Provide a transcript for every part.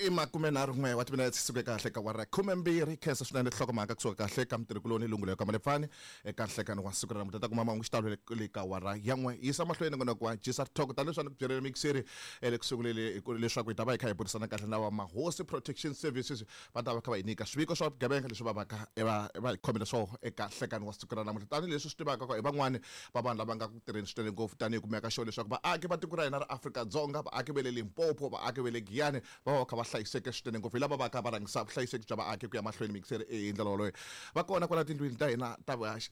I 31 wa timinete suke kahle ka wara 12. Khensa swinene nhlokomhaka kusuka kahle ka mutirhikuloni Lungulo ka Malefani eka nhlekani wa siku ra namuntlha. Ta kuma mahungu xitalo le ka wara ya 1. Yisa mahlweni nongonoko wa Gisa Talk tanihi leswi a ni ku byerile mixeri le ku sunguleni leswaku hi ta va hi kha hi burisana kahle na va Mahosi Protection Services. Va ta va kha va hi nyika swiviko swa vugevenga leswi va vaka va va hi khomele swona eka nhlekani wa siku ra namuntlha. Tanihi leswi swi tivaka ku hi van'wani va vanhu lava nga ku tirheni swinene ngopfu tanihi ku meka sure leswaku vaaki va tiko ra hina ra Afrika-Dzonga, vaaki va le Limpopo, vaaki va le Giyani va va va kha va hlayiseke swinene ngopfu. Hi lava va ka va rhangisa vuhlayiseki bya vaaki ku ya mahlweni mixere hi ndlela wolowo. Va kona kwala tindlwini ta hina ta vuhaxi.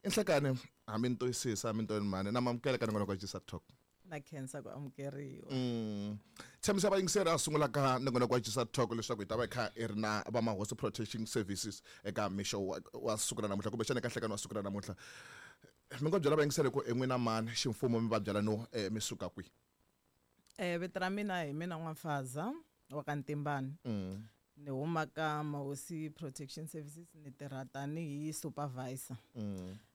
I nhlekani hambi ni twisisa hambi ni tweni mhani na mamukela ka nongonoko wa Gisa Talk. Na khensa ku amukeriwa. Tshembisa vayingiseri a sungula ka nongonoko wa Gisa Talk leswaku hi ta va hi kha hi ri na va Mahosi Protection Services eka mixo wa siku ra namuntlha kumbexana eka nhlekani wa siku ra namuntlha. Mi ngo byela vayingiseri ku i n'wina mani ximfumo mi va byela no mi suka kwihi? Vito ra mina hi mina N'wafaza wa ka Ntimbani. Ni huma ka Mahosi Protection Services, ni tirha tanihi supervisor.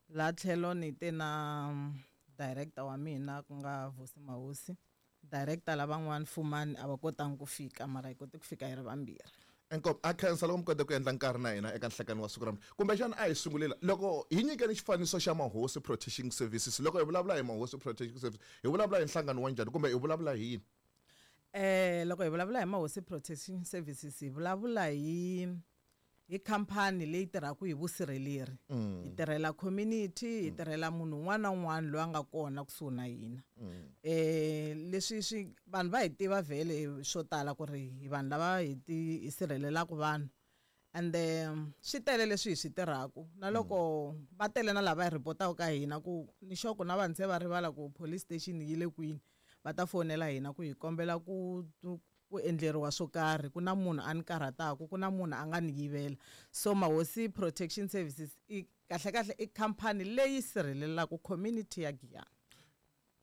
La tlhelo ni te na director wa mina ku nga Vusi Mahosi. Director lavan'wana Fumani a va kotangi ku fika, mara hi kote ku fika hi ri vambirhi. Inkomu, a khensa loko mi kote ku endla nkarhi na hina eka nhlekani wa siku ra namuntlha. Kumbexana a hi sungulela loko hi nyikeni xifaniso xa Mahosi Protection Services. Loko hi vulavula hi Mahosi Protection Services, hi vulavula hi nhlangano wa njhani kumbe hi vulavula hi yini? Loko hi vulavula hi Mahosi Protection Services, hi vulavula hi khampani leyi tirhaka hi vusirheleri. Hi tirhela community, hi tirhela munhu un'wana na un'wana loyi a nga kona kusuhi na hina. Leswi swi vanhu va hi tiva vhele swo tala ku ri hi vanhu lava hi ti hi sirhelelaka vanhu. And swi tele leswi hi swi tirhaka. Na loko va tele na lava hi ripotaka ka hina ku ni sure ku na vanhu se va rivala ku police station yi le kwini, va ta fonela hina ku hi kombela ku endleriwa swo karhi, ku na munhu a ni karhataka, ku na munhu a nga ni yivela. So Mahosi Protection Services i kahle kahle i khampani leyi sirhelelaka community ya Giyani.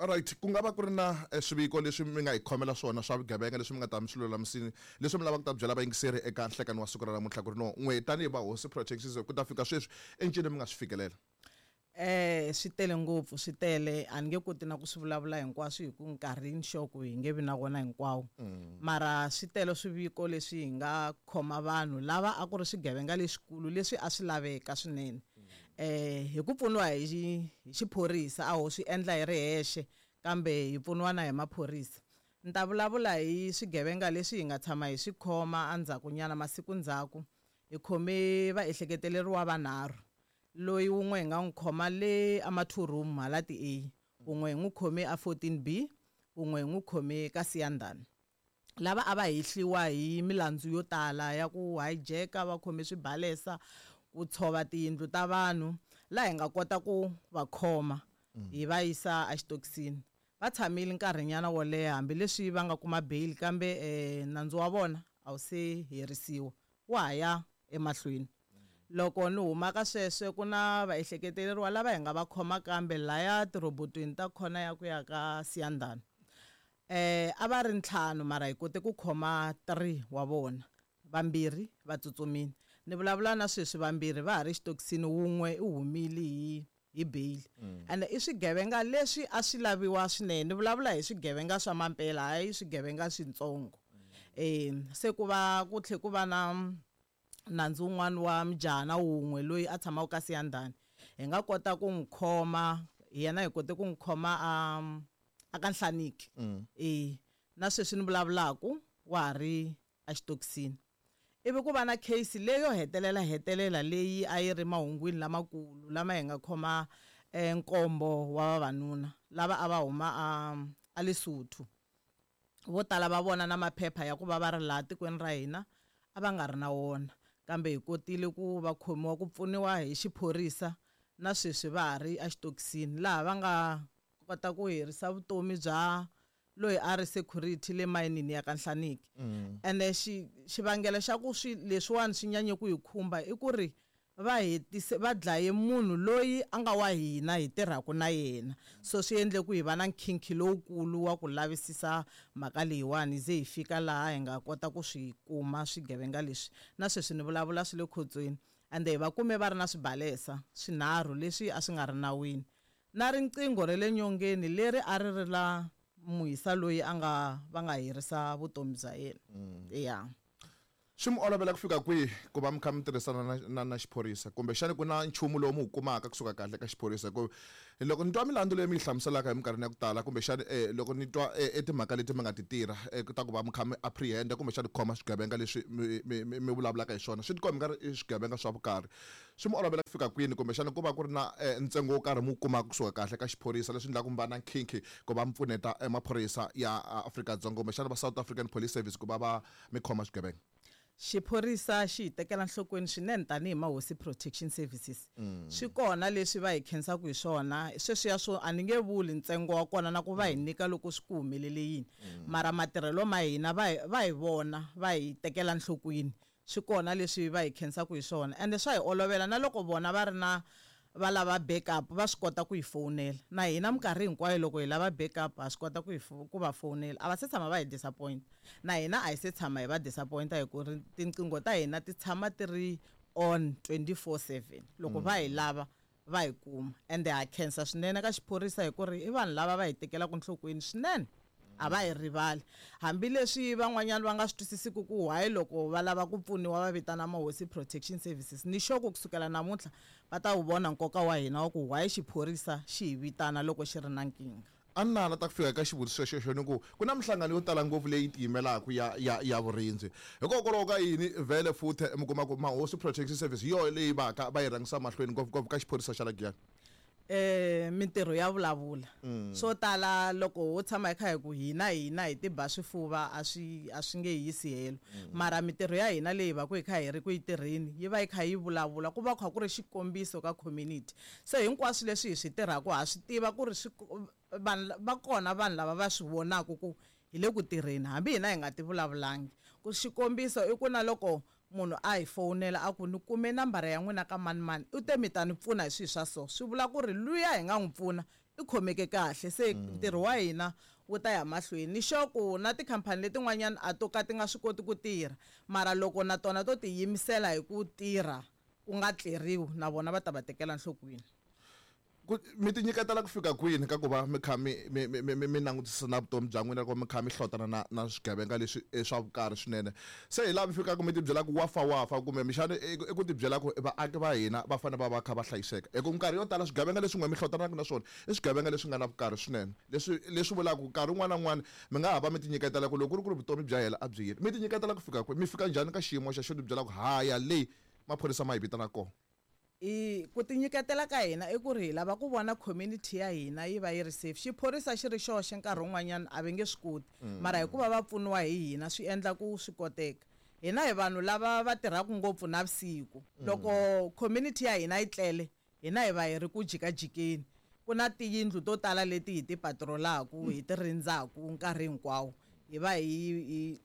Alright, ku nga va ku ri na swiviko leswi mi nga hi khomela swona swa vugevenga leswi mi nga ta mi swi lulamisini, leswi mi lavaka ku ta byela vayingiseri eka nhlekani wa siku ra namuntlha ku ri no n'we tanihi va Hosi Protection Services ku ta fika sweswi i ncini mi nga swi fikelela? Swi tele ngopfu, swi tele, a ni nge koti na ku swi vulavula hinkwaswo hi ku nkarhi ni sure ku hi nge vi na wona hinkwawo. Mara swi tele swiviko leswi hi nga khoma vanhu lava a ku ri swigevenga leswikulu leswi a swi laveka swinene. Hi ku pfuniwa hi xiphorisa, a ho swi endla hi ri hexe kambe hi pfuniwa na hi maphorisa. Ni ta vulavula hi swigevenga leswi hi nga tshama hi swi khoma endzhaku nyana, masiku ndzhaku. Hi khome vaehleketeleriwa vanharhu. Loyi wun'we hi nga n'wi khoma le a ma 2 room hala ti A, wun'we hi n'wi khome a 14B, wun'we hi n'wi khome ka Siyandhani. Lava a va hehliwa hi milandzu yo tala ya ku hijacka, va khome swibalesa, ku tshova tiyindlu ta vanhu, laha hi nga kota ku va khoma hi va yisa exitokisini. Va tshamile nkarhinyana wo leha hambileswi va nga kuma bail, kambe nandzu wa vona a wu se herisiwa, wa ha ya emahlweni. Loko ni huma ka sweswo ku na vaehleketeleriwa lava hi nga va khoma kambe laya tirhobotweni ta khona ya ku ya ka Siyandhani. A va ri ntlhanu mara hi kote ku khoma 3 wa vona, vambirhi va tsutsumile. Ni vulavula na sweswi vambirhi va ha ri xitokisini, wun'we u humile hi bail. Ende i swigevenga leswi a swi laviwa swinene. Ni vulavula hi swigevenga swa mampela, hayi swigevenga switsongo. Se ku va ku tlhe ku va na nandzu wun'wana wa mujahana wun'we loyi a tshamaka ka Siyandhani. Hi nga kota ku n'wi khoma, yena hi kote ku n'wi khoma a ka Nhlaniki. Na sweswi ni vulavulaka wa ha ri exitokisini. Ivi ku va na case leyo hetelela hetelela leyi a yi ri mahungwini lamakulu lama hi nga khoma nkombo wa vavanuna lava a va huma a Lesotho. Vo tala va vona na maphepha ya ku va va ri laha tikweni ra hina a va nga ri na wona, kambe hi kotile ku va khomiwa ku pfuniwa hi xiphorisa na sweswi va ha ri exitokisini laha va nga kota ku herisa vutomi bya loyi a ri security le mayinini ya ka Nhlaniki. Ende xivangelo xa ku swi leswiwani swi nyanye ku hi khumba i ku ri va hetise va dlaye munhu loyi a nga wa hina hi tirhaka na yena. So swi endle ku hi va na nkhinkhi lowukulu wa ku lavisisa mhaka leyiwani ze hi fika laha hi nga kota ku swi kuma swigevenga leswi. Na sweswi ni vulavula swi le khotsweni. Ende hi va kume va ri na swibalesa swinharhu leswi a swi nga ri nawini. Na riqingho ra le nyongeni leri a ri ri la muhisa loyi a nga va nga herisa vutomi bya yena. Ya. Swi mi olovela ku fika kwihi ku va mi kha mi tirhisana na xiphorisa, kumbexani ku na nchumu lowu mi wu kumaka kusuka kahle ka xiphorisa? Ku loko ni twa milandzu leyi mi yi hlamuselaka hi minkarhini ya ku tala, kumbexani loko ni twa timhaka leti mi nga ti tirha ta ku va mi kha mi apprehend-a kumbexani ku khoma swigevenga leswi mi vulavulaka hi swona, swi tikomba nga ri i swigevenga swa vukarhi. Swi mi olovela ku fika kwini, kumbexani ku va ku ri na ntsengo wo karhi mi wu kumaka kusuka kahle ka xiphorisa, leswi endlaka mi va na nkhinkhi ku va mi pfuneta maphorisa ya Afrika-Dzonga kumbexana va South African Police Service ku va va mi khoma swigevenga? Xiphorisa xi hi tekela nhlokweni swinene tanihi Mahosi Protection Services. Swi kona leswi va hi khensaka hi swona, sweswiya swo a ni nge vuli ntsengo wa kona na ku va hi nyika loko swi ku humelele yini, mara matirhelo ma hina va hi va hi vona va hi tekela nhlokweni. Swi kona leswi va hi khensaka hi swona, ende swa hi olovela na loko vona va ri na va lava backup va swi kota ku hi fowunela. Na hina minkarhi hinkwayo loko hi lava backup ha swi kota ku hi ku va fowunela. A va se tshama va hi disappoint, na hina a hi se tshama hi va disappoint, hi ku ri tinqingho ta hina ti tshama ti ri on 24/7. Loko va hi lava va hi kuma, ende ha khensa swinene ka xiphorisa hi ku ri i vanhu lava va hi tekelaka nhlokweni swinene, a va hi rivali. Hambileswi van'wanyana va nga swi twisisiku ku why loko va lava ku pfuniwa va vitana Mahosi Protection Services, ni sure ku kusukela namuntlha va ta wu vona nkoka wa hina wa ku why xiphorisa xi hi vitana loko xi ri na nkingha. A ni nala ta ku fika ka xivutiso xexo, ni ku ku na minhlangano yo tala ngopfu leyi tiyimelaka ya vurindzi. Hikokwalaho ka yini vhele futhi mi kuma ku Mahosi Protection Service hi yona leyi va ka va yi rhangisa mahlweni ngopfungopfu ka xiphorisa xa la Giyani? Mintirho ya vulavula. Swo tala loko ho tshama hi kha hi ku hina hina hi tiba swifuva a swi a swi nge yisi helo, mara mintirho ya hina leyi va ku hi kha hi ri ku yi tirheni yi va yi kha yi vulavula, ku va kha ku ri xikombiso ka community. Se hinkwaswo leswi hi swi tirhaka ha swi tiva ku ri swi vanhu va kona, vanhu lava va swi vonaka ku hi le ku tirheni hambi hina hi nga ti vulavulangi. Ku xikombiso i ku na loko munhu a hi fowunela a ku ni kume nambara ya n'wina ka mani mani, u te mi ta ni pfuna hi swilo swa so, swi vula ku ri luya hi nga n'wi pfuna i khomeke kahle. Se ntirho wa hina wu ta ya mahlweni. Ni sure ku na tikhampani letin'wanyana a to ka ti nga swi koti ku tirha, mara loko na tona to tiyimisela hi ku tirha ku nga tleriwi, na vona va ta va tekela nhlokweni. Ku mi ti nyiketela ku fika kwini ka ku va mi kha mi langutisa na vutomi bya n'wina loko mi kha mi hlotana na swigevenga leswi swa vukarhi swinene? Se hi laha mi fikaka mi ti byela ku wa fa wa fa, kumbe mixana i ku ti byela ku vaaki va hina va fanele va va kha va hlayiseka? Hi ku minkarhi yo tala swigevenga leswi n'we mi hlotanaka na swona i swigevenga leswi nga na vukarhi swinene, leswi vulaka ku nkarhi wun'wana na wun'wana mi nga ha va mi ti nyiketela ku loko ku ri ku ri vutomi bya hela a byi yini. Mi ti nyiketela ku fika kwihi? Mi fika njhani ka xiyimo xa xo ti byela ku haya leyi maphorisa ma hi vitana kona? I ku tinyiketela ka hina i ku ri hi lava ku vona community ya hina yi va yi ri safe. Xiphorisa xi ri xoxe nkarhi wun'wanyana a va nge swi koti, mara hikuva va pfuniwa hi hina swi endla ku swi koteka. Hina hi vanhu lava va tirhaka ngopfu navusiku. Loko community ya hina yi tlele, hina hi va hi ri ku jikajikeni. Ku na tiyindlu to tala leti hi ti patrolaku, hi ti rindzaku nkarhi hinkwawo. Hi va hi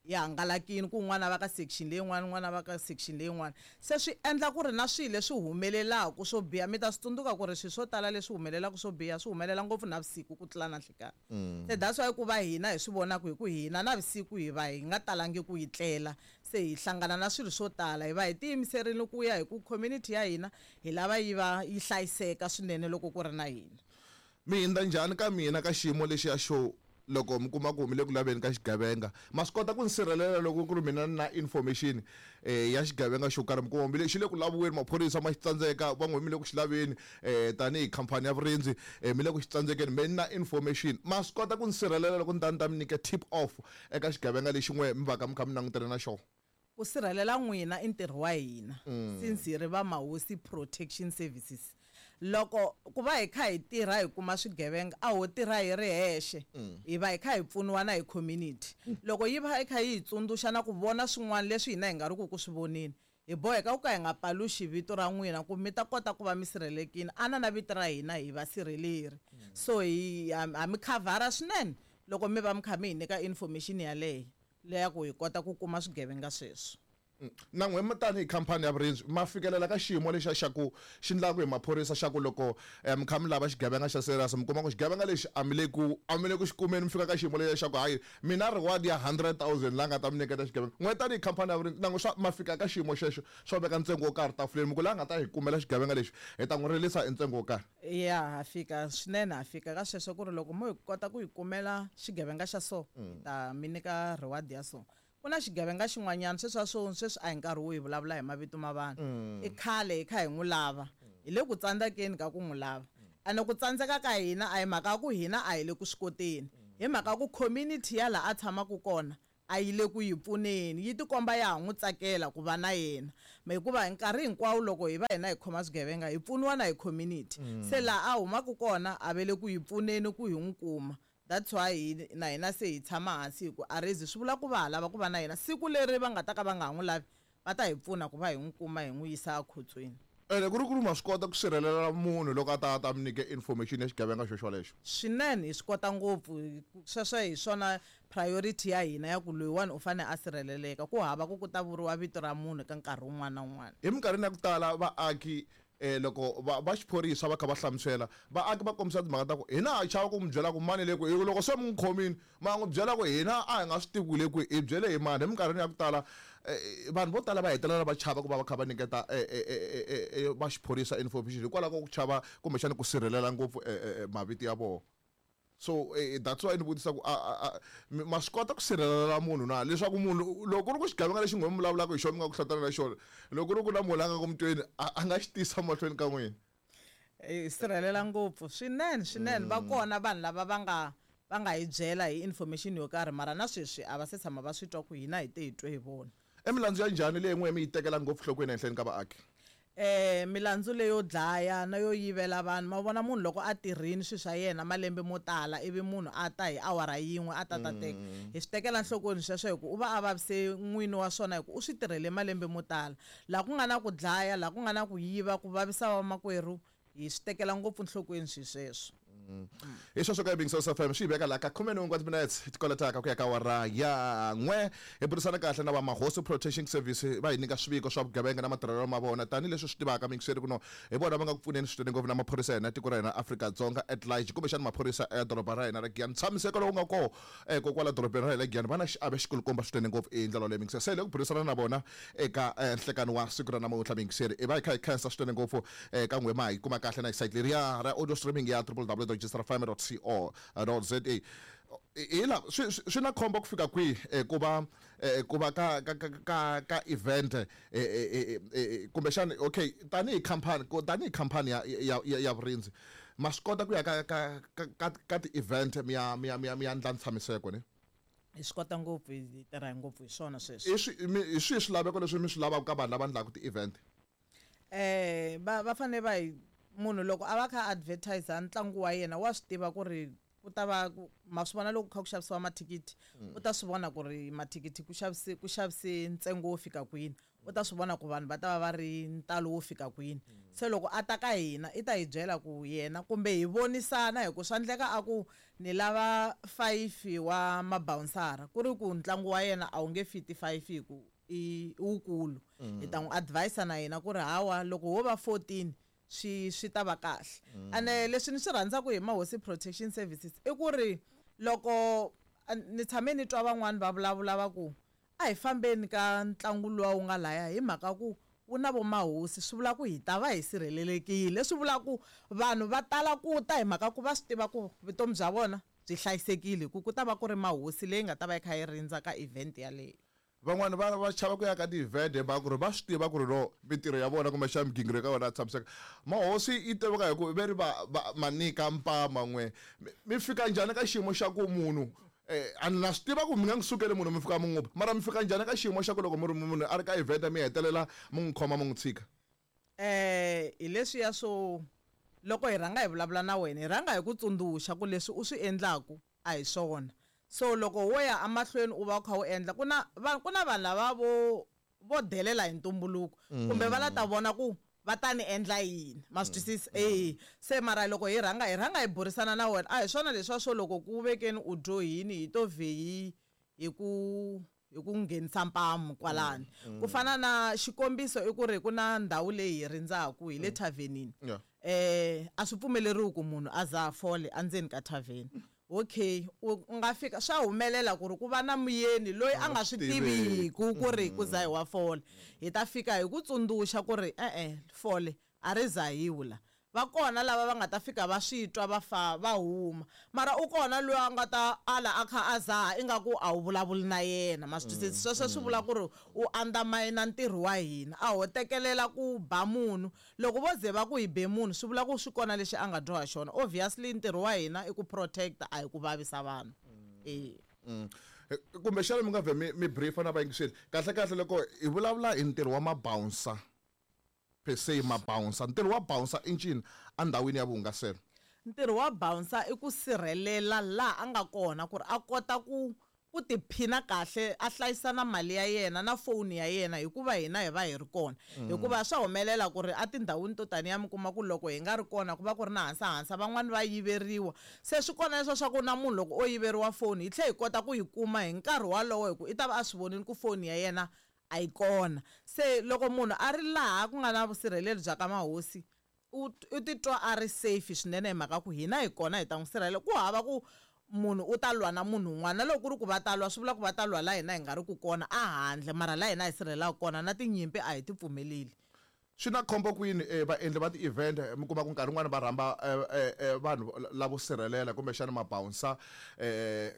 hi hangalakile, ku un'wana va ka section leyin'wana, un'wana va ka section leyin'wana. Se swi endla ku ri na swilo leswi humelelaka swo biha. Mi ta swi tsundzuka ku ri swilo swo tala leswi humelelaka swo biha swi humelela ngopfu navusiku ku tlula na nhlikani. Se that's why ku va hina hi swi vonaka hi ku hina navusiku hi va hi nga talangi ku yi tlela, se hi hlangana na swilo swo tala. Hi va hi tiyimiserile ku ya hi ku community ya hina hi lava yi va yi hlayiseka swinene loko ku ri na hina. Mi hindza njhani ka mina ka xiyimo lexiya xo loko mi kuma ku mi le ku laveni ka xigevenga, ma swi kota ku ni sirhelela loko ku ri mina ni na information ya xigevenga xo karhi? Mi kuma mi le xi le ku laviweni, maphorisa ma xi tsandzeka, van'we mi le ku xi laveni tanihi khampani ya vurindzi, mi le ku xi tsandzekeni, me ni na information, ma swi kota ku ni sirhelela loko ni ta ni ta mi nyika tip off eka xigevenga lexi n'we mi va ka mi kha mi langutane na xona? Ku sirhelela n'wina i ntirho wa hina, since hi ri va Mahosi Protection Services. Loko ku va hi kha hi tirha hi kuma swigevenga, a ho tirha hi ri hexe, hi va hi kha hi pfuniwa na hi community. Loko yi va yi kha yi hi tsundzuxa na ku vona swin'wana leswi hina hi nga ri ku ku swi voneni, hi boheka ku ka hi nga paluxi vito ra n'wina ku mi ta kota ku va mi sirhelelekile. Ana na vito ra hina hi va sirheleri, so hi ha mi khavhara swinene loko mi va mi kha mi hi nyika information yaleyo leya ku hi kota ku kuma swigevenga sweswo. Na n'we tanihi khampani ya vurindzi ma fikelela ka xiyimo lexa xa ku xi ndlaku hi maphorisa xa ku loko mi kha mi lava xigevenga xa serious, mi kuma ku xigevenga lexi a mi le ku a mi le ku xi kumeni, mi fika ka xiyimo lexa xa ku hayi, mina reward ya 100 000 la nga ta mi nyiketa xigevenga. N'we tanihi khampani ya vurindzi, na n'we swa ma fika ka xiyimo xexo xo veka ntsengo wo karhi tafuleni, mi ku la nga ta hi kumela xigevenga lexi hi ta n'wi rilisa hi ntsengo wo karhi? Ya, ha fika swinene, ha fika ka sweswo ku ri loko mo hi kota ku hi kumela xigevenga xa so, hi ta mi nyika reward ya so. Ku na xigevenga xin'wanyana sweswi swo sweswi a hi nkarhi wo hi vulavula hi mavito ma vanhu. I khale hi kha hi n'wi lava, hi le ku tsandzekeni ka ku n'wi lava, ene ku tsandzeka ka hina a hi mhaka ya ku hina a hi le ku swi koteni, hi mhaka ku community ya laha a tshamaka kona a yi le ku yi pfuneni, yi tikomba ya ha n'wi tsakela ku va na yena, hikuva hi nkarhi hinkwawo loko hi va hina hi khoma swigevenga hi pfuniwa na hi community. Se laha a humaka kona a ve le ku hi pfuneni ku hi n'wi kuma. That's why hi na hina se hi tshama hansi hi ku arezi swi vula ku va ha lava ku va na yena. Siku leri va nga ta ka va nga ha n'wi lavi, va ta hi pfuna ku va hi n'wi kuma, hi n'wi yisa ekhotsweni. Ene ku ri ku ri ma swi kota ku sirhelela munhu loko a ta mi nyike information ya xigevenga xo xolexo? Swinene, hi swi kota ngopfu. Sweswo hi swona priority ya hina ya ku loyiwani u fanele a sirheleleka, ku hava ku ku ta vuriwa vito ra munhu ka nkarhi wun'wana na wun'wana. Hi minkarhini ya ku tala vaaki, loko va xiphorisa va kha va hlamusela vaaki, va kombisa timhaka ta ku hina ha chava ku mi byela ku mani le ku loko se mi n'wi khomile, ma n'wi byela ku hina a hi nga swi tivi ku le kwihi, hi byele hi mani. Hi minkarhini ya ku tala vanhu vo tala va hetelela va chava ku va va kha va nyiketa va xiphorisa information hikwalaho ka ku chava kumbexana ku sirhelela ngopfu mavito ya vona. So that's why ni vutisa ku ma swi kota ku sirhelela munhu na, leswaku munhu loko ku ri ku xigevenga lexi n'we mi vulavulaka hi xona, mi nga ku hlatana na xona, loko ku ri ku na munhu la nga ku mutweni a nga xi tisa mahlweni ka n'wina? Hi sirhelela ngopfu swinene, swinene. Va kona vanhu lava va nga hi byela hi information yo karhi, mara na sweswi a va se tshama va swi twa ku hina hi te hi twe hi vona. I milandzu ya njhani leyi n'we mi yi tekela ngopfu nhlokweni ehenhleni ka vaaki? Milandzu leyo dlaya na yo yivela vanhu. Ma vona, munhu loko a tirhini swilo swa yena malembe mo tala, ivi munhu a ta hi awara yin'we a ta ta teka, hi swi tekela nhlokweni sweswo, hi ku u va a vavise n'wini wa swona, hi ku u swi tirhele malembe mo tala. Laha ku nga na ku dlaya, laha ku nga na ku yiva, ku vavisa vamakwerhu, hi swi tekela ngopfu nhlokweni swilo sweswo. Hi sweswo ka Yingiselo FM swi hi veka laha ka 11 wa timinetse tikoletaka ku ya ka awara ya 1. Hi burisana kahle na va Mahosi Protection Service, va hi nyika swiviko swa vugevenga na matirhelo ma vona. Tanihileswi swi tivaka miyingiseri ku no hi vona va nga ku pfuneni swinene ngopfu na maphorisa ya hina tiko ra hina Afrika-Dzonga at large, kumbexana maphorisa ya doroba ra hina ra Giyani. Ntshamiseko lowu nga koho kokwala dorobeni ra hina Giyani, va na xiave xikulukumba swinene ngopfu hi ndlela leyi miyingiseri. Se hi le ku burisana na vona eka nhlekani wa siku ra namuntlha miyingiseri. I va hi kha hi khensa swinene ngopfu ka n'we ma hi kuma kahle na hi site leriya ra audio streaming ya www.gsrfm.co.za. Hi la swi na khombo ku fika kwihi ku va ka event kumbexana? Okay, tanihi company, tanihi company ya vurindzi, ma swi kota ku ya ka ti-event mi ya ndla ntshamiseko ne? Hi swi kota ngopfu, hi tirha ngopfu hi swona sweswo. Hi swihi swilaveko leswi mi swi lavaka ka vanhu lava ndlaka ti-event? Va fanele va hi munhu loko a va kha advertise ntlangu wa yena, wa swi tiva ku ri ku ta va ma swi vona loko kha ku xavisiwa mathikithi, u ta swi vona ku ri mathikithi ku xavise ntsengo wo fika kwini, u ta swi vona ku vanhu va ta va va ri ntalo wo fika kwini. Se loko a ta ka hina, i ta hi byela ku yena kumbe hi vonisana, hi ku swa endleka a ku ni lava five wa mabouncera, ku ri ku ntlangu wa yena a wu nge fiti five, hi ku i wukulu. Hi ta n'wi advise na yena ku ri hawa, loko wo va 14 swi ta va kahle. Ene leswi ni swi rhandzaka hi Mahosi Protection Services i ku ri loko ni tshame ni twa van'wani va vulavula va ku a hi fambeni ka ntlangu luwa wu nga laya, hi mhaka ku wu na vo mahosi, swi vula ku hi ta va hi sirhelelekile. Swi vula ku vanhu va tala ku ta hi mhaka ku va swi tiva ku vutomi bya vona byi hlayisekile, hi ku ku ta va ku ri mahosi leyi nga ta va yi kha yi rindza ka event yaleyo. Van'wani va chava ku ya ka ti-event hi mhaka ku ri va swi tiva ku ri no mintirho ya vona kumbexana migingiriko ka vona ya tshamiseka. Mahosi yi tiveka hi ku ve ri va ma nyika mpama. N'we mi fika njhani ka xiyimo xa ku munhu a ni na swi tiva ku mi nga n'wi sukeli munhu mi fika mi n'wi ba, mara mi fika njhani ka xiyimo xa ku loko mi ri munhu a ri ka event mi hetelela mi n'wi khoma mi n'wi tshika? Hi leswiya swo loko hi rhanga hi vulavula na wena, hi rhanga hi ku tsundzuxa ku leswi u swi endlaku a hi swona. So loko wo ya emahlweni u va u kha u endla, ku na vanhu lava vo delela hi ntumbuluko, kumbe va la ta vona ku va ta ni endla yini, ma swi twisisa? Se mara loko hi rhanga hi burisana na wena, a hi swona leswiya swo loko ku vekeni u dyohini hi to vhe hi ku hi ku nghenisa mpamu kwalani. Ku fana na xikombiso i ku ri ku na ndhawu leyi hi rindzaku hi le thavhenini. A swi pfumeleriwi ku munhu a za a fole endzeni ka thavheni. Okay, u nga fika swa humelela ku ri ku va na muyeni loyi a nga swi tiviku ku ri ku zahiwa fole. Hi ta fika hi ku tsundzuxa ku ri e-e fole a ri zahiwi la. Va kona lava va nga ta fika va swi twa va fa va huma, mara u kona loyi a nga ta ala a kha a zaha ingaku a wu vulavuli na yena. Ma swi twisisa? Sweswo swi vula ku ri u undermine ntirho wa hina, a ho tekelela ku ba munhu. Loko vo ze va ku hi be munhu swi vula ku swi kona lexi a nga dyoha xona. Obviously ntirho wa hina i ku protect, a hi ku vavisa vanhu. Kumbexana mi nga vhe mi briefa na vayingiseri kahle kahle loko hi vulavula hi ntirho wa mabouncer per se. Mabouncer, ntirho wa bouncer i ncini endhawini ya vuhungaselo? Ntirho wa bouncer i ku sirhelela laha a nga kona ku ri a kota ku tiphina kahle, a hlayisa na mali ya yena na foni ya yena, hikuva hina hi va hi ri kona. Hikuva swa humelela ku ri etindhawini to taniya mi kuma ku loko hi nga ri kona ku va ku ri na hansahansa, van'wani va yiveriwa. Se swi kona leswa swa ku na munhu loko o yiveriwa foni hi tlhela hi kota ku yi kuma hi nkarhi walowo, hi ku i ta va a swi vonile ku foni ya yena a yi kona. Se loko munhu a ri laha ku nga na vusirheleri bya ka mahosi, u titwa a ri safe swinene, hi mhaka ku hina hi kona hi ta n'wi sirhelela. Ku hava ku munhu u ta lwa na munhu un'wana, na loko ku ri ku va ta lwa swi vula ku va ta lwa la hina hi nga ri ku kona a handle, mara la hina hi sirhelelaka kona na tinyimpi a hi ti pfumeleli. Swi na khombo kwini vaendli va ti-event mi kuma ku nkarhi wun'wani va rhamba vanhu lavo sirhelela kumbexana mabouncer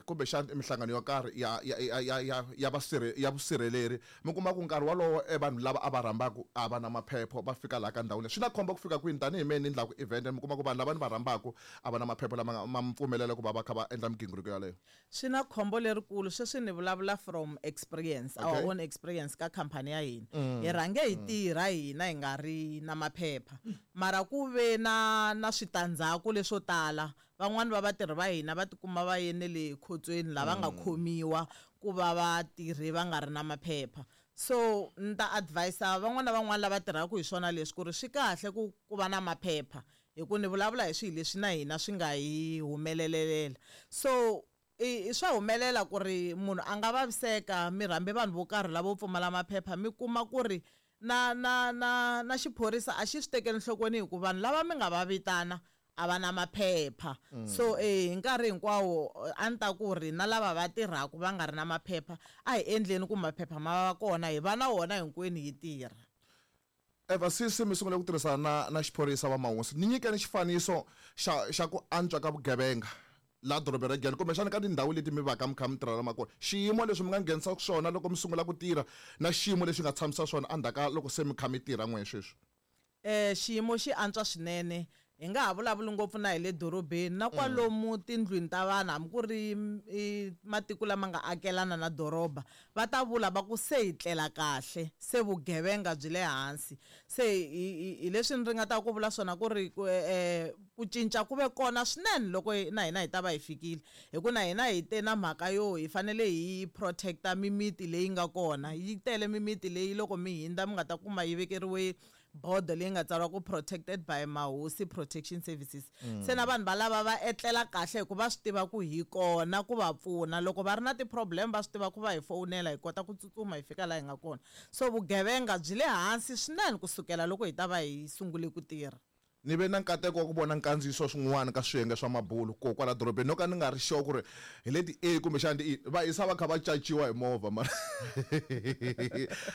kumbexana minhlangano yo karhi ya ya ya ya ya ya vasirhe ya vusirheleri, mi kuma ku nkarhi wolowo vanhu lava a va rhambaku a va na maphepho, va fika laha ka ndhawu leyi? Swi na khombo ku fika kwini tanihi mehe ni endlaku event, mi kuma ku vanhu lava ni va rhambaku a va na maphepho lama ma mi pfumelela ku va va kha va endla migingiriko yaleyo? Swi na khombo lerikulu. Sweswi ni vulavula from experience, our own experience ka khampani ya hina. Hi rhange hi tirha hina hi nga ri na maphepha, mara ku ve na switandzhaku leswo tala. Van'wani va vatirhi va hina va tikuma va ye ne le khotsweni, lava nga khomiwa ku va vatirhi va nga ri na maphepha. So ni ta advisa van'wana na van'wana lava tirhaka hi swona leswi ku ri swi kahle ku va na maphepha, hi ku ni vulavula hi swilo leswi na hina swi nga hi humelelela. So i swa humelela ku ri munhu a nga vaviseka, mi rhambe vanhu vo karhi lavo pfumala maphepha, mi kuma ku ri na na na na xiphorisa a xi swi tekeli enhlokweni, hi ku vanhu lava mi nga va vitana a va na maphepha. So hi nkarhi hinkwawo a ni ta ku ri na lava va tirhaka va nga ri na maphepha, a hi endleni ku maphepha ma va kona, hi va na wona hinkwenu hi tirha. Eva, sisi mi sungule ku tirhisana na xiphorisa va Mahosi, ni nyikeni xifaniso xa ku antswa ka vugevenga laha dorobeni ra Giyani, kumbexana ka tindhawu leti mi vaka mi kha mi tirhela ma kona, xiyimo leswi mi nga nghenisa swona loko mi sungula ku tirha na xiyimo lexi nga tshamisa swona endzhaku ka loko se mi kha mi tirha n'we sweswi. Xiyimo xi antswa swinene. Hi nga ha vulavuli ngopfu na hi le dorobeni, na kwalomu tindlwini ta vanhu, hambi ku ri matiko lama nga akelana na doroba, va ta vula va ku se hi tlela kahle, se vugevenga byi le hansi. Se hi leswi ni ringetaka ku vula swona ku ri ku cinca ku ve kona swinene loko na hina hi ta va hi fikile, hi ku na hina hi te na mhaka yo hi fanele hi protecta mimiti leyi nga kona. Yi tele mimiti leyi loko mi hindza mi nga ta kuma yi vekeriwe bodo leyi nga tsariwa ku protected by Mahosi Protection Services. Se na vanhu valava va etlela kahle, hikuva va swi tiva ku hi kona ku va pfuna. Loko va ri na ti-problem va swi tiva ku va hi fowunela, hi kota ku tsutsuma hi fika laha hi nga kona. So vugevenga byi le hansi swinene kusukela loko hi ta va hi sungule ku tirha. Ni ve na nkateko wa ku vona nkandziyiso swin'wana ka swiyenge swa mabulu ko kwala dorobeni, no ka ni nga ri sure ku ri hi leti A kumbexana ti E, va hisa va kha va caciwa hi movha, mara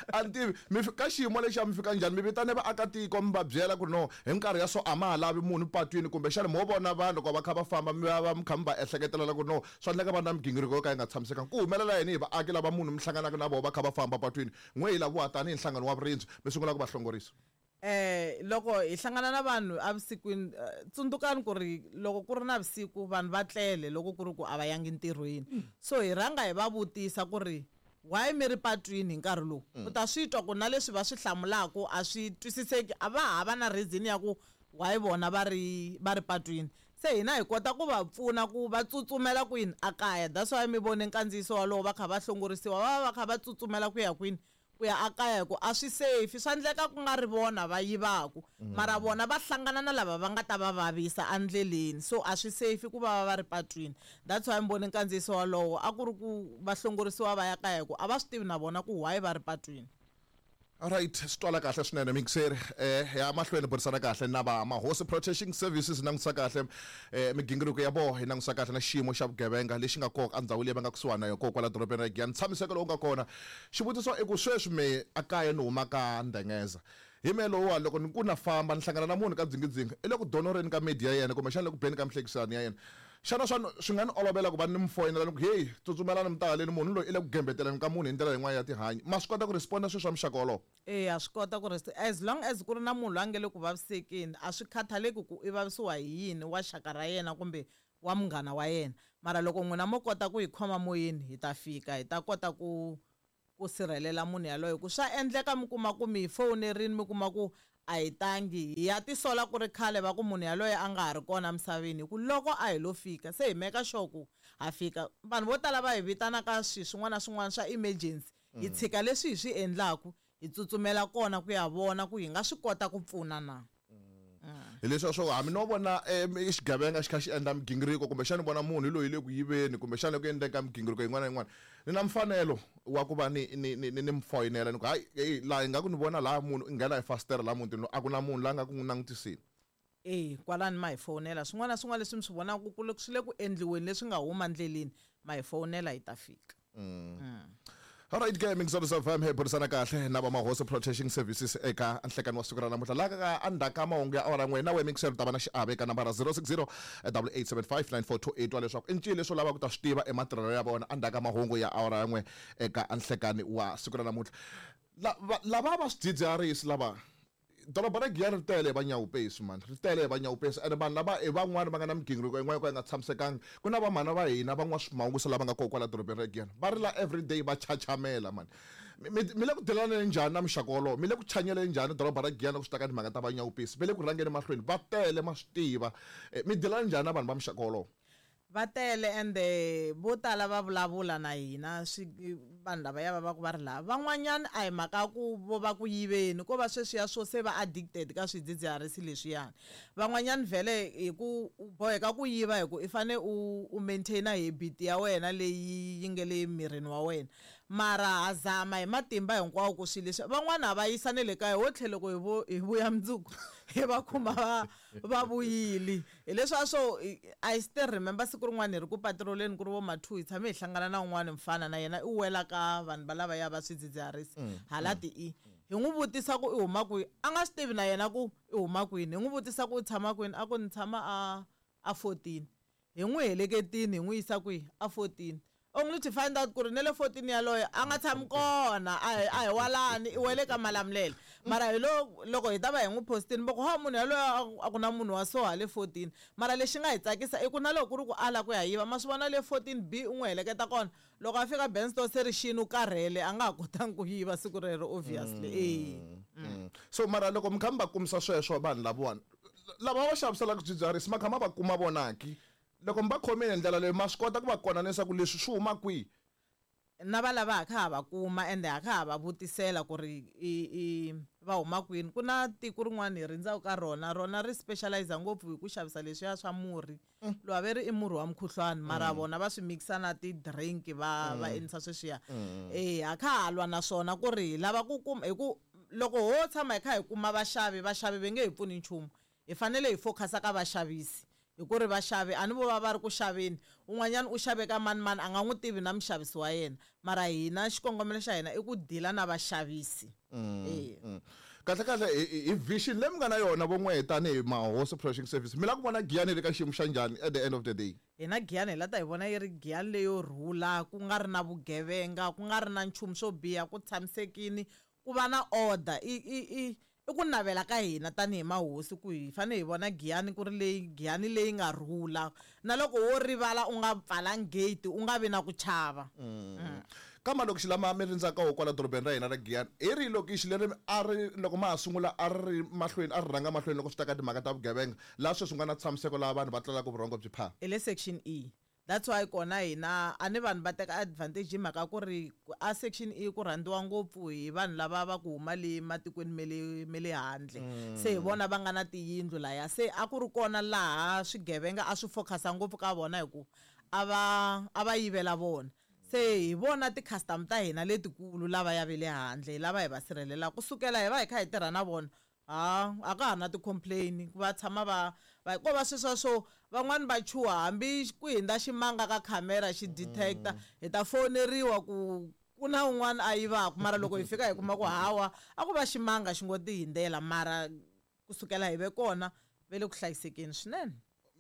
a ni tivi mi ka xiyimo lexiya mi fika njhani, mi vitane vaakatiko mi va byela ku ri no hi minkarhi ya so a ma ha lavi munhu patwini, kumbexana mo vona vanhu loko va kha va famba mi va mi kha mi va ehleketelela ku no swa endleka va na migingiriko yo ka yi nga tshamisekanga? Ku humelela yini hi vaaki lava munhu mi hlanganaka na vona va kha va famba patwini, n'we hi laviwa tanihi nhlangano wa vurindzi mi sungula ku va hlongorisa? Loko hi hlangana na vanhu evusikwini, tsundzukani ku ri loko ku ri na vusiku vanhu va tlele, loko ku ri ku a va yangi ntirhweni. So hi rhanga hi va vutisa ku ri why mi ri patwini hi nkarhi lowu. U ta swi twa ku na leswi va swi hlamulaka a swi twisiseki, a va hava na reason ya ku why vona va ri patwini. Se hina hi kota ku va pfuna ku va tsutsumela kwini, a kaya. That's why mi vone nkandziyiso walowo va kha va hlongorisiwa, va va va kha va tsutsumela ku ya kwini. Ku ya akaya hi ku a swi safe, swa endleka ku nga ri vona va yivaku, mara vona va hlangana na lava va nga ta va vavisa endleleni, so a swi safe ku va va ri patwini. That's why mi vone nkandziyiso walowo, a ku ri ku va hlongorisiwa va ya kaya hi ku a va swi tivi na vona ku why va ri patwini. Alright, swi twala kahle swinene mixer. Ya mahlweni burisana kahle na va Mahosi Protection Services, langutisa kahle migingiriko ya vona, hi langutisa kahle na xiyimo xa vugevenga lexi nga kona endhawini leyi va nga kusuhani na yona kona kwala dorobeni ra Giyani. Ntshamiseko lowu nga kona, xivutiso i ku sweswi me a kaya ni huma ka Ndengeza, hi me lowuwa loko ni ku na famba ni hlangana na munhu ka dzingidzingi i le ku donoreni ka media ya yena kumbexana le ku beni ka mihlekisano ya yena, xana swa swi nga ni olovela ku va ni mi foyinela ni ku heyi, tsutsumelani mi ta haleni, munhu loyi i le ku gembeteleni ka munhu hi ndlela yin'wana ya tihanyi? Ma swi kota ku responda swilo swa muxaka wolowo? Eya, swi kota ku as long as ku ri na munhu loyi a nge le ku vavisekeni, a swi khathaleki ku i vavisiwa hi yini, wa xaka ra yena kumbe wa munghana wa yena. Mara loko n'wina mo kota ku hi khoma moyeni, hi ta fika hi ta kota ku sirhelela munhu yaloye. Ku swa endleka mi kuma ku mi hi fowunerini, mi kuma ku a hi tangi, hi ya tisola ku ri khale va ku munhu yaloye a nga ha ri kona emisaveni, hi ku loko a hi lo fika se hi meka sure ku ha fika. Vanhu vo tala va hi vitana ka swilo swin'wana na swin'wana swa emergency, hi tshika leswi hi swi endlaku, hi tsutsumela kona ku ya vona ku hi nga swi kota ku pfuna na. Hi leswiya swo hambi no vona xigevenga xi kha xi endla migingiriko, kumbexana vona munhu hi loyi le ku yiveni, kumbexana ku endleni ka migingiriko yin'wana na yin'wana, ni na mfanelo wa ku va ni mi foyinela ni ku hayi, hey, laha hi nga ku ni vona laha munhu i nghena hi fasitere laha mutini, a ku na munhu la nga ku n'wi langutiseni. E kwalani ma hi fowunela swin'wana na swin'wana leswi mi swi vonaka ku swi le ku endliweni leswi nga huma ndleleni, ma hi fowunela hi ta fika. Alright ke, Mixolus FM, hi burisana kahle na va Mahosi Protection Services eka nhlekani wa siku ra namuntlha laha ka endzhaku ka mahungu ya awara n'we. Na wehe Mixer u ta va na xiave eka nambara 060 8875 9428 wa leswaku i ncini leswi u lavaka ku ta swi tiva ematirhelo ya vona endzhaku ka mahungu ya awara ya n'we eka nhlekani wa siku ra namuntlha. Lava va swidzidziharisi lava, doroba ra Giyani ri tele hi vanyawupesi mani, ri tele hi vanyawupesi, ene vanhu lava i van'wani va nga na migingiriko yin'wana yo ka yi nga tshamisekangi. Ku na vamhana va hina van'wa swimawusa lava nga kona kwala dorobeni ra Giyani, va rila everyday, va chachamela mani. Mi le ku dilaneni njhani na muxaka wolowo? Mi le ku chanyeleni njhani doroba ra Giyani loko swi ta ka timhaka ta vanyawupesi? Va le ku rhangeni mahlweni, va tele, ma swi tiva. Mi dilana njhani na vanhu va muxaka wolowo? Va tele, ende vo tala va vulavula na hina swi vanhu lavaya va va ku va ri laha. Van'wanyana a hi mhaka ku vo va ku yiveni, ko va sweswiya swo se va addicted ka swidzidziharisi leswiyani. Van'wanyana vhele hi ku u boheka ku yiva hi ku i fane u maintain habit ya wena leyi yi nge le mirini wa wena. Mara ha zama hi matimba hinkwawo ku swilo leswi van'wana ha va yisa ne le kaya, ho tlhela loko hi vuya mundzuku hi va kuma va vuyile. Hi leswiya swo I still remember siku rin'wana hi ri ku patroleni, ku ri vo ma 2, hi tshame hi hlangana na un'wana mfana, na yena i wela ka vanhu va lavaya va swidzidziharisi hala ti i. Hi n'wi vutisa ku i huma kwihi, a nga swi tivi na yena ku i huma kwini. Hi n'wi vutisa ku u tshama kwini, a ku ni tshama a 14. Hi n'wi heleketini hi n'wi yisa kwihi, a 14, only to find out ku ri ne le 14 yaloye a nga tshami kona, a hi walani, i wele ka Malamulele. Mara hi lo loko hi ta va hi n'wi postini, va ku ha munhu yaloye a ku na munhu wa so hale 14. Mara lexi nga hi tsakisa i ku na loko ku ri ku ala ku ya yiva, ma swi vona le 14 B u n'wi heleketa kona, loko a fika Bensto se ri xini, u karhele, a nga ha kotangi ku yiva siku rero obviously. So mara loko mi kha mi va kumisa sweswo vanhu lavawani lava va xaviselaka swidzidziharisi, ma kha ma va kuma vonaki loko mi va khomile hi ndlela leyi, ma swi kota ku va konanisa ku leswi swi huma kwihi? Na va lava ha kha ha va kuma, ende ha kha ha va vutisela ku ri i va huma kwini. Ku na tiko rin'wana hi rindzaka ka rona, rona ri specialize ngopfu hi ku xavisa leswiya swa murhi lowu a ve ri i murhi wa mukhuhlwani, mara vona va swi mixa na ti-drink, va endlisa sweswiya. E ha kha ha lwa naswona ku ri hi lava ku kuma, hi ku loko ho tshama hi kha hi kuma vaxavi, vaxavi va nge hi pfuni nchumu. Hi fanele hi focusa ka vaxavisi, hi ku ri vaxavi a ni vo va va ri ku xaveni, un'wanyana u xave ka mani mani, a nga n'wi tivi na muxavisi wa yena. Mara hina xikongomelo xa hina i ku dila na vaxavisi. Kahle kahle hi vision leyi mi nga na yona von'we tanihi Mahosi Protection Service, mi lava ku vona Giyani yi ri ka xiyimo xa njhani at the end of the day? Hina Giyani hi la ta hi vona yi ri Giyani leyo rhula, ku nga ri na vugevenga, ku nga ri na nchumu swo biha, ku tshamisekini, ku va na order. I ku navela ka hina tanihi mahosi ku hi fanele hi vona Giyani ku ri leyi Giyani leyi nga rhula, na loko wo rivala u nga pfalangi gate u nga vi na ku chava. Ka malokixi lama mi rindzaka wo kwala dorobeni ra hina ra Giyani, hi rihi lokixi leri a ri loko ma ha sungula a ri mahlweni, a ri rhanga mahlweni loko swi ta ka timhaka ta vugevenga, laha sweswi nga na tshamiseko, laha vanhu va tlelaka vurhongo byi phaa? Hi le section E. That's why kona hina a ni vanhu va teka advantage hi mhaka ku ri a section E ku rhandziwa ngopfu hi vanhu lava va ku huma le matikweni me le handle. Se hi vona va nga na tiyindlu laya. Se a ku ri kona laha swigevenga a swi focus-a ngopfu ka vona hi ku a va yivela vona. Se hi vona ti-customer ta hina letikulu lava ya ve le handle, hi lava hi va sirhelelaka. Kusukela hi va hi kha hi tirha na vona, ha a ka ha ri na ti-complain, va tshama va ko va sweswa swo van'wani va chuha hambi ku hindza ximanga ka khamera xi detecta, hi ta foneriwa ku ku na un'wana a yivaka, mara loko hi fika hi kuma ku hawa a ku va ximanga xi ngo ti hindzela, mara kusukela hi ve kona ve le ku hlayisekeni swinene.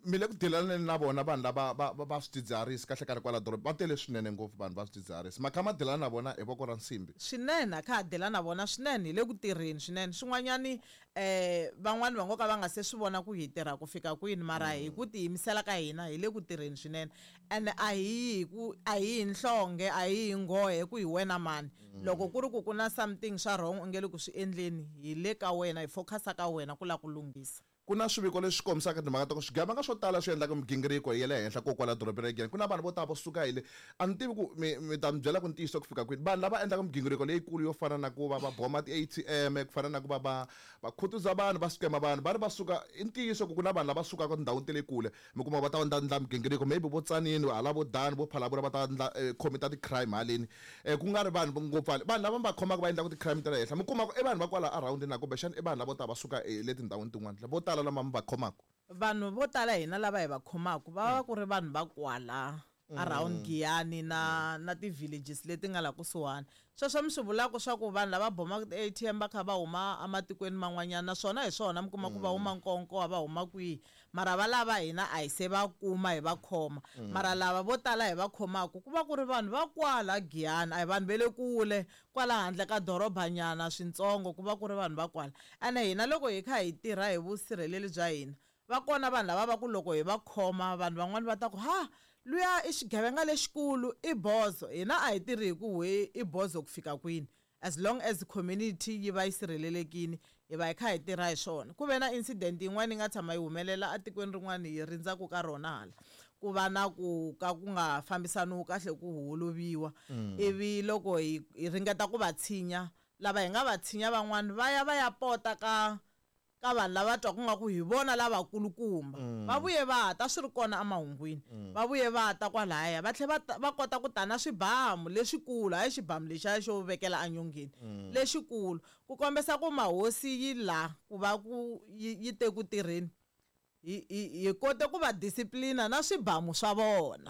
Mi le ku dilaneni na vona vanhu lava va swidzidziharisi kahle kahle kwala doroba? Va tele swinene ngopfu vanhu va swidzidziharisi. Ma kha ma dilana na vona hi voko ra nsimbi? Swinene, a kha ha dila na vona swinene, hi le ku tirheni swinene. Swin'wanyani van'wani va ngo ka va nga se swi vona ku hi tirha ku fika kwini, mara hi ku tiyimisela ka hina hi le ku tirheni swinene. Ene a hi yi hi ku a hi hi nhlonge, a hi hi nghohe ku hi wena mani. Loko ku ri ku ku na something swa wrong u nge le ku swi endleni, hi le ka wena, hi focusa ka wena ku lava ku lunghisa. Ku na swiviko leswi kombisaka timhaka ta ku swigevenga swo tala swi endlaka migingiriko ya le henhla ko kwala dorobeni ra Giyani. Ku na vanhu vo tala vo suka hi le, a ni tivi ku mi ta mi byela ku ntiyiso ku fika kwini, vanhu lava endlaka migingiriko leyikulu yo fana na ku va va boma ti-ATM, ku fana na ku va khutuza vanhu, va scama vanhu, va ri va suka. I ntiyiso ku ku na vanhu lava sukaka tindhawini ta le kule, mi kuma va ta va ndla migingiriko, maybe vo Tsanini hala, vo Dani, vo Phalavula, va ta ndla commita ti-crime haleni, ku nga ri vanhu ngopfu hale. Vanhu lava va khomaka va endlaka ti-crime ta le henhla, mi kuma ku i vanhu va kwala around na kumbexana i vanhu lavo ta va suka le tindhawini tin'wana vo tala lama mi va khomaka? Vanhu vo tala hina lava hi va khomaka va va ku ri vanhu va kwala around Giyani na ti-villages leti nga la kusuhani. Sweswo mi swi vulaka swa ku vanhu lava bomaka ti-ATM va kha va huma ematikweni man'wanyana, naswona hi swona, mi kuma ku va huma Nkonkowa, va huma kwihi, mara va lava hina a hi se va kuma hi va khoma. Mara lava vo tala hi va khomaka ku va ku ri vanhu va kwala Giyani, a hi vanhu va le kule kwala handle ka dorobanyana swintsongo, ku va ku ri vanhu va kwala. Ene hina loko hi kha hi tirha hi vusirheleli bya hina, va kona vanhu lava va ku loko hi va khoma, vanhu van'wani va ta ku ha luya i xigevenga lexikulu, i bozo. Hina a hi tirhi hi ku we i bozo ku fika kwini, as long as community yi va yi sirhelelekini, hi va hi kha hi tirha hi swona. Ku ve na incident yin'wana yi nga tshama yi humelela etikweni rin'wana hi rindzaku ka rona hala, ku va na ku ka ku nga fambisaniwi kahle, ku holoviwa, ivi loko hi ringeta ku va tshinya, lava hi nga va tshinya van'wani va ya va ya pota ka vanhu lava twaku nga ku hi vona lavakulukumba. Va vuye va ta swi ri kona emahungwini, va vuye va ta kwalaya, va tlhela va kota ku ta na swibamu leswikulu, hayi xibamu lexiya xo vekela enyongeni, lexikulu, ku kombisa ku mahosi yi la ku va ku yi te ku tirheni. Hi kote ku va disciplina na swibamu swa vona.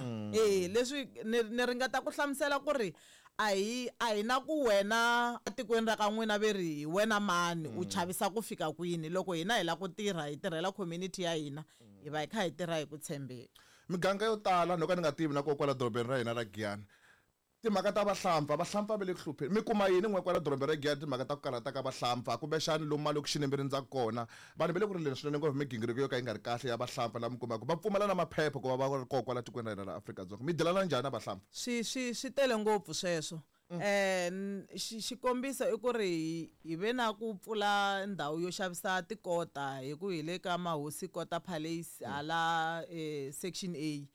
Leswi ni ringeta ku hlamusela ku ri a hi na ku wena etikweni ra ka n'wina ve ri hi wena mani u chavisa ku fika kwini. Loko hina hi lava ku tirha, hi tirhela community ya hina, hi va hi kha hi tirha hi ku tshembeka. Miganga yo tala, no ka ni nga tivi na ko kwala dorobeni ra hina ra Giyani, timhaka ta vahlampfa, vahlampfa va le ku hlupheni. Mi kuma yini n'we kwala dorobeni ra Giyani, timhaka ta ku karhata ka vahlampfa, kumbexani lomu malokixini mi rindzaka kona? Vanhu va le ku rileni swinene ngopfu migingiriko yo ka yi nga ri kahle ya vahlampfa, laha mi kumaka va pfumala na maphepha ku va va ri kona kwala tikweni ra hina ra Afrika-Dzonga. Mi dilana njhani na vahlampfa? Swi tele ngopfu sweswo. Xikombiso i ku ri hi ve na ku pfula ndhawu yo xavisa tikota, hi ku hi le ka Mahosi Kota Palace hala section A.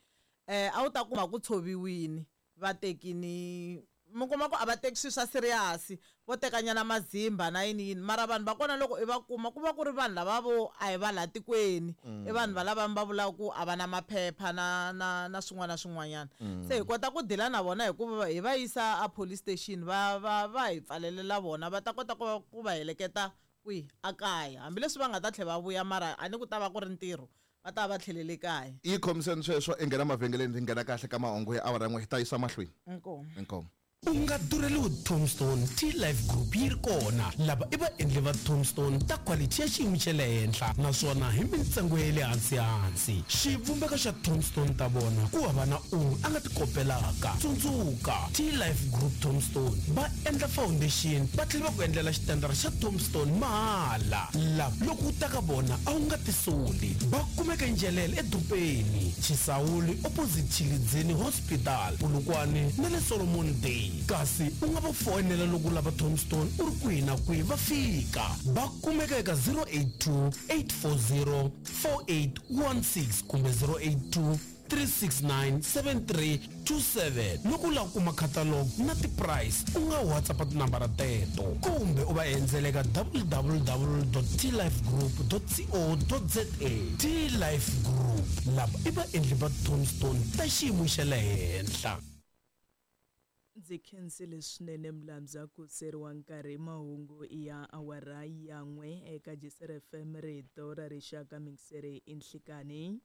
A wu ta kuma ku tshoviwini, va tekini, mi kuma ku a va teki swilo swa serious, vo tekanyana mazimba na yini yini, mara vanhu va kona loko i va kuma ku va ku ri vanhu lava vo a hi va laha tikweni, i vanhu va lava va vulaka ku a va na maphepha na swin'wana na swin'wanyana. Se hi kota ku dila na vona hikuva hi va yisa a police station, va hi pfalelela vona, va ta kota ku va heleketa kwihi, a kaya, hambileswi va nga ta tlhela va vuya, mara a ni ku ta va ku ri ntirho, va ta va tlhelele kaya. Yi khomiseni sweswo, i nghena mavhengeleni, ri nghena kahle ka mahungu ya awara 1, hi ta yisa mahlweni. Inkomu. Inkomu. U nga durheliwi tombstone, T-Life Group yi ri kona. Lava i vaendli va tombstone ta quality ya xiyimo xa le henhla, naswona hi mintsengo ya le hansi hansi. Xivumbeko xa tombstone ta vona ku hava na un'we a nga ti kopelaka. Tsundzuka, T-Life Group tombstone va endla foundation, va tlhela va ku endlela xitandara xa tombstone mahala. Lava loko u ta ka vona a wu nga tisoli. Va kumeka Njelele edorobeni, Chisawuli opposite Chilidzini Hospital, Polokwane na le Solomon Day. Kasi u nga va foyinela loko u lava tombstone u ri kwihi na kwihi, va fika. Va kumeka eka 082 840 4816 kumbe 082. 369 7327. Loko u lava ku kuma catalog na ti-price, u nga WhatsApp tinambara teto kumbe u va endzela eka www.tlifegroup.co.za. T-Life Group, lava i vaendli va tombstone ta xiyimo xa le henhla. Ndzi khensile swinene Mlamza ku seriwa nkarhi. Mahungu ya awara ya n'we eka Jisere FM, rito ra rixaka, mingiseri i nhlikani.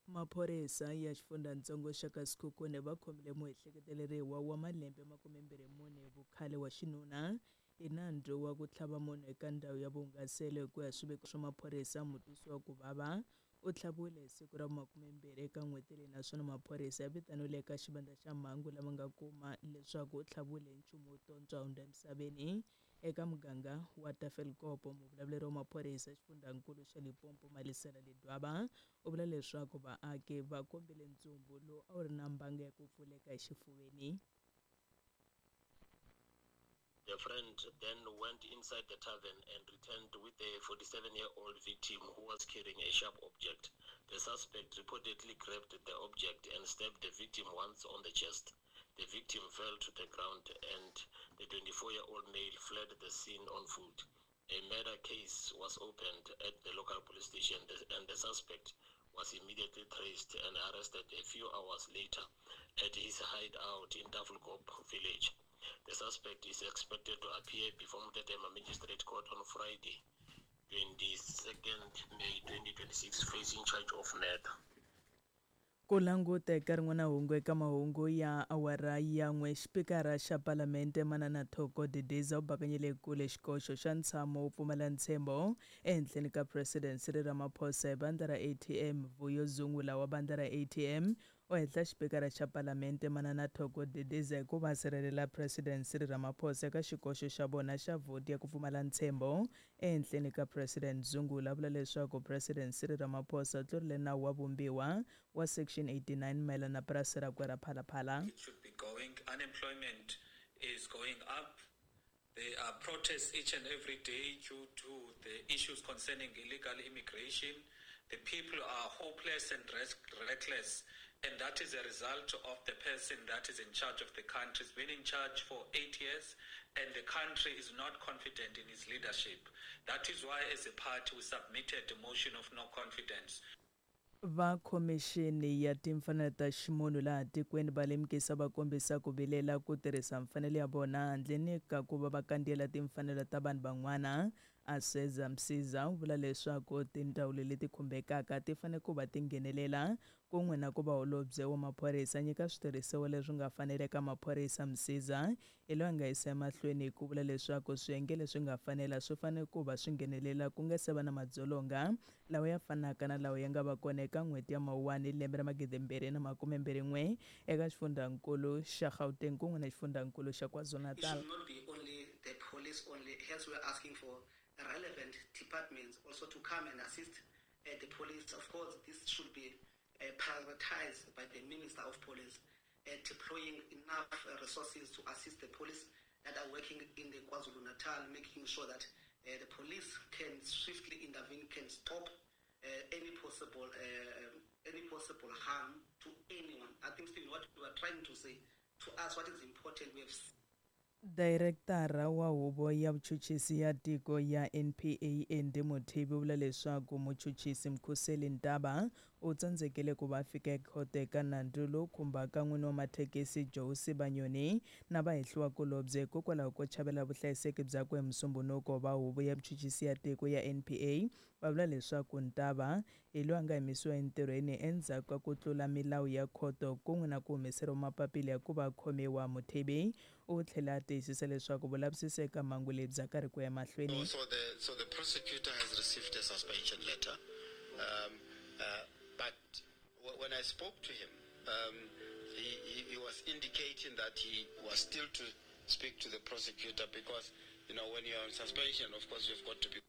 Maphorisa ya xifundzhantsongo xa ka Sekhukhune va khomile muehleketeleriwa wa malembe 24 vukhale wa xinuna hi nandzu wa ku tlhava munhu eka ndhawu ya vuhungaselo. Hi ku ya swiviko swa maphorisa, mutwisiwa ku vava u tlhaviwile hi siku ra 20 eka n'hweti leyi, naswona maphorisa ya vitaniwile eka xivandla xa mhangu lama nga kuma leswaku u tlhaviwile hi nchumu wo tontswa hundza emisaveni eka muganga wa Tafelkopo. Muvulavuleri wa maphorisa xifundzhankulu xa Limpopo, Malisela Ledwaba, u vula leswaku vaaki va kombile ntsumbu lowu a wu ri na mbanga ya ku pfuleka exifuveni. The friend then went inside the tavern and returned with a 47-year-old victim who was carrying a sharp object. The suspect reportedly grabbed the object and stabbed the victim once on the chest. The victim fell to the ground and the 24-year-old male fled the scene on foot. A murder case was opened at the local police station and the suspect was immediately traced and arrested a few hours later at his hideout in Tafelkop village. The suspect is expected to appear before Mtetema Magistrate Court on Friday, 22nd May 2026, facing charge of murder. Ku languta eka rin'wana hungu eka mahungu ya awara ya n'we, xipikara xa Palamente Manana Thoko Didiza u bakanyile kule xikoxo xa ntshamo wo pfumala ntshembo ehenhleni ka President Cyril Ramaphosa hi vandla ra ATM. Vuyo Zungula wa vandla ra ATM u hehla xipikara xa Palamente Manana Thoko Didiza hi ku va sirhelela President Cyril Ramaphosa eka xikoxo xa vona xa vhoti ya ku pfumala ntshembo ehenhleni ka President. Zungula vula leswaku President Cyril Ramaphosa u tlurile nawu wa vumbiwa wa Section 89 mayelana na purasi rakwe ra Phalaphala. It should be going. Unemployment is going up. There are protests each and every day due to the issues concerning illegal immigration. The people are hopeless and reckless, and that is a result of the person that is in charge of the country. He's been in charge for 8 years, and the country is not confident in his leadership. That is why, as a party, we submitted a motion of no confidence. Va khomixini ya timfanelo ta ximunhu laha tikweni va lemukisa va kombisa ku vilela ku tirhisa mfanelo ya vona handleni ka ku va va kandziyela timfanelo ta vanhu van'wana. Aseza Msiza u vula leswaku tindzawulo leti khumbekaka ti fanele ku va ti nghenelela kun'we na ku va holobye wa maphorisa nyika switirhisiwa leswi nga fanela eka maphorisa. Msiza hi loyi a nga yisa emahlweni hi ku vula leswaku swiyenge leswi nga fanela swi fanele ku va swi nghenelela ku nga se va na madzolonga lawa ya fanaka na lawa ya nga va kona eka n'hweti ya Mawuwani lembe ra 2021 eka xifundzankulu xa Gauteng kun'we na xifundzankulu xa KwaZulu-Natal. It should not be only the police only. Hence, we are asking for relevant departments also to come and assist the police. Of course, this should be prioritized by the Minister of Police, deploying enough resources to assist the police that are working in the KwaZulu-Natal, making sure that the police can swiftly intervene, can stop any possible harm to anyone. I think still what we are trying to say to us, what is important, we have Director wa huvo ya vuchuchisi ya tiko ya NPA Andy Mothibi u vula leswaku muchuchisi Mkhuseli Ntaba u tsandzekile ku va fika ekhoto eka nandzu lowu khumbaka n'wini wa mathekisi Joe Sibanyoni na vahehliwakulobye hikokwalaho ko chavela vuhlayiseki byakwe. Hi Musumbhunuko va huvo ya vuchuchisi ya tiko ya NPA va vula leswaku Ntaba hi loyi a nga yimisiwa entirhweni endzhaku ka ku tlula milawu ya khoto kun'we na ku humeseriwa mapapila ya ku va khomiwa. Mothibi u tlhela a tiyisisa leswaku vulavisisi eka mhangu leyi bya karhi ku ya mahlweni. So the prosecutor has received a suspension letter, but when I spoke to him, he was indicating that he was still to speak to the prosecutor because, you know, when you're on suspension, of course, you've got to be.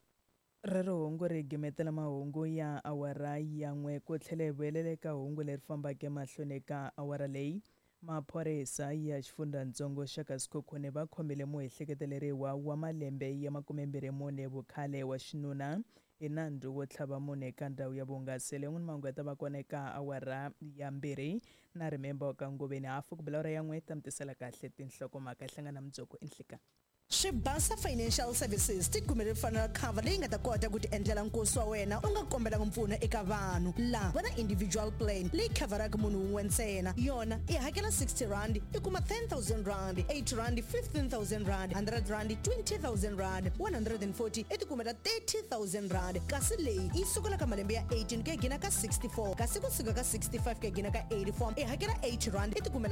Rero hungu ri gimetela mahungu ya awara ya n'we ku tlhela hi vuyelela eka hungu leri fambaka emahlweni eka awara leyi. Maphorisa ya xifundzhantsongo xa ka Sekhukhune va khomile muehleketeleriwa wa malembe ya 24 vukhale wa xinuna Hi nandzu wo tlhava munhu eka ndhawu ya vuhungaselo. Yan'wani mahungu ya ta va kona eka awara ya 2 na Remember wa ka Ngoveni. Hafu ku bela awara ya 1 ta mi tisela kahle tinhlokomhaka. Hi hlangana mundzuku enhlikani. Swibasa Financial Services ti kumele funeral cover leyi nga ta kota ku ti endlela nkosi wa wena u nga kombelanga mpfuno eka vanhu. Laha va na individual plan leyi khavharaka munhu wun'we ntsena. Yona i hakela 60 rand i kuma 10000 rand, 80 rand 15000 rand, 100 rand 20000 rand, 140 i ti kumela 30000 rand. Kasi leyi yi sukela ka malembe ya 18 ku ya gina ka 64, kasi kusuka ka 65 ku ya gina ka 84 i hakela 80 rand i ti kumela